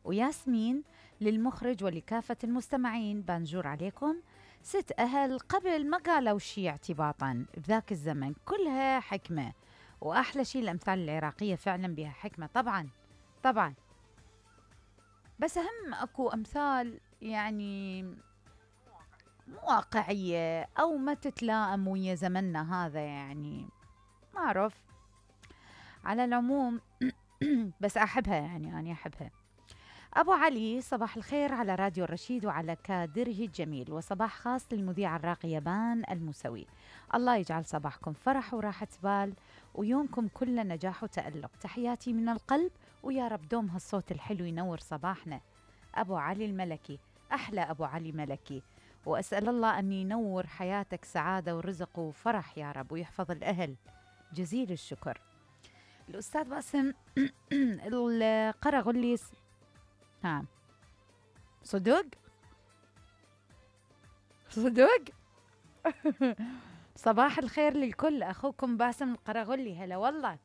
وياسمين للمخرج ولكافة المستمعين. بانجور عليكم. 6 أهل قبل ما قالوا شي اعتباطا بذاك الزمن، كلها حكمة. وأحلى شي الأمثال العراقية فعلا بها حكمة. طبعا طبعا، بس أهم أكو أمثال يعني مو واقعية أو ما تتلائم ويا زمننا هذا، يعني ما أعرف. على العموم بس أحبها، يعني أنا أحبها. أبو علي، صباح الخير على راديو الرشيد وعلى كادره الجميل، وصباح خاص للمذيع الراقية بان الموسوي. الله يجعل صباحكم فرح وراحة بال، ويومكم كله نجاح وتألق. تحياتي من القلب، ويا رب دوم هالصوت الحلو ينور صباحنا. أبو علي الملكي، أحلى أبو علي ملكي، وأسأل الله أن ينور حياتك سعادة ورزق وفرح يا رب، ويحفظ الأهل. جزيل الشكر. الأستاذ باسم القرغلي. ها، صدق صدق. صباح الخير للكل، أخوكم باسم القرغلي. هلا والله.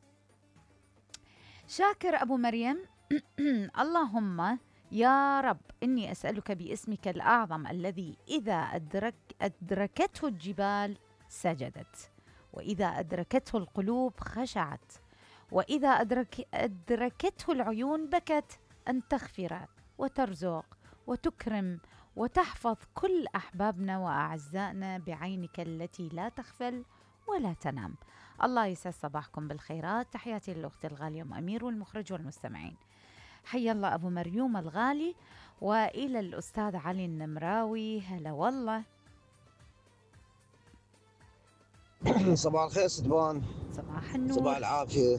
شاكر أبو مريم. اللهم يا رب إني أسألك باسمك الأعظم الذي إذا أدركته الجبال سجدت، وإذا أدركته القلوب خشعت، وإذا أدركته العيون بكت، أن تغفر وترزق وتكرم وتحفظ كل أحبابنا وأعزائنا بعينك التي لا تغفل ولا تنام. الله يسعد صباحكم بالخيرات. تحياتي للأخت الغالية أم أمير والمخرج والمستمعين. حي الله أبو مريوم الغالي، وإلى الأستاذ علي النمراوي. هلا والله. صباح الخير ستبان. صباح النور. صباح العافية.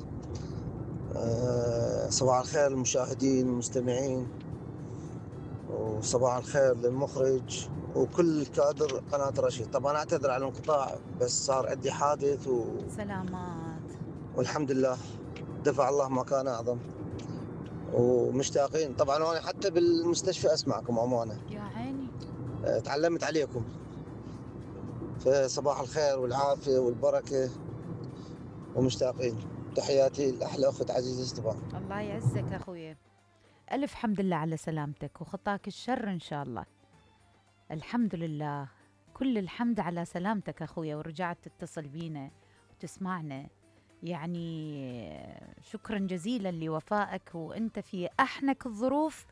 صباح الخير للمشاهدين والمستمعين، وصباح الخير للمخرج وكل كادر قناة رشيد. طبعا أعتذر على الانقطاع، بس صار عندي حادث سلامات والحمد لله دفع الله ما كان أعظم، ومشتاقين طبعا. وأنا حتى بالمستشفى أسمعكم أمانة، يا عيني. تعلمت عليكم. فصباح الخير والعافية والبركة ومشتاقين. تحياتي لأحلى أخت عزيزة ستبان. الله يعزك أخوي، ألف حمد لله على سلامتك وخطاك الشر إن شاء الله. الحمد لله، كل الحمد على سلامتك أخويا، ورجعت تتصل بينا وتسمعنا. يعني شكرا جزيلا لوفائك، وأنت في أحنك الظروف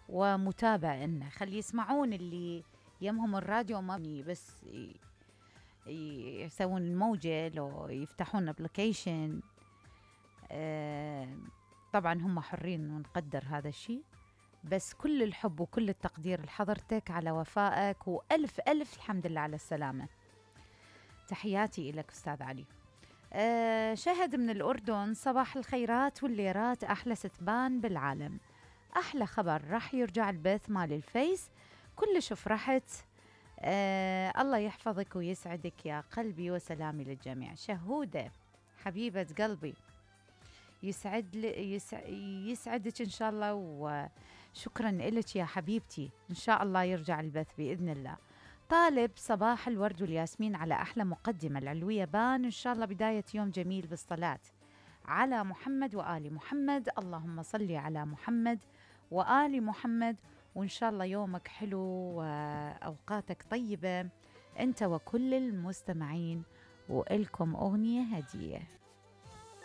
ومتابع لنا. خلي يسمعون اللي يمهم الراديو ما بس يسوون الموجة، لو يفتحون ابليكيشن. طبعا هم حرين ونقدر هذا الشيء، بس كل الحب وكل التقدير لحضرتك على وفائك، وألف ألف الحمد لله على السلامة. تحياتي لك أستاذ علي. شهد من الأردن، صباح الخيرات والليرات، أحلى ستبان بالعالم. أحلى خبر راح يرجع البث مال الفيس، كلش فرحت. الله يحفظك ويسعدك يا قلبي، وسلامي للجميع. شهودة حبيبة قلبي، يسعدك إن شاء الله، وشكرا لك يا حبيبتي. إن شاء الله يرجع البث بإذن الله. طالب صباح الورد والياسمين على أحلى مقدمة العلوية بان، إن شاء الله بداية يوم جميل بالصلاة على محمد وآل محمد. اللهم صل على محمد وآل محمد، وإن شاء الله يومك حلو وأوقاتك طيبة أنت وكل المستمعين. وإلكم أغنية هدية.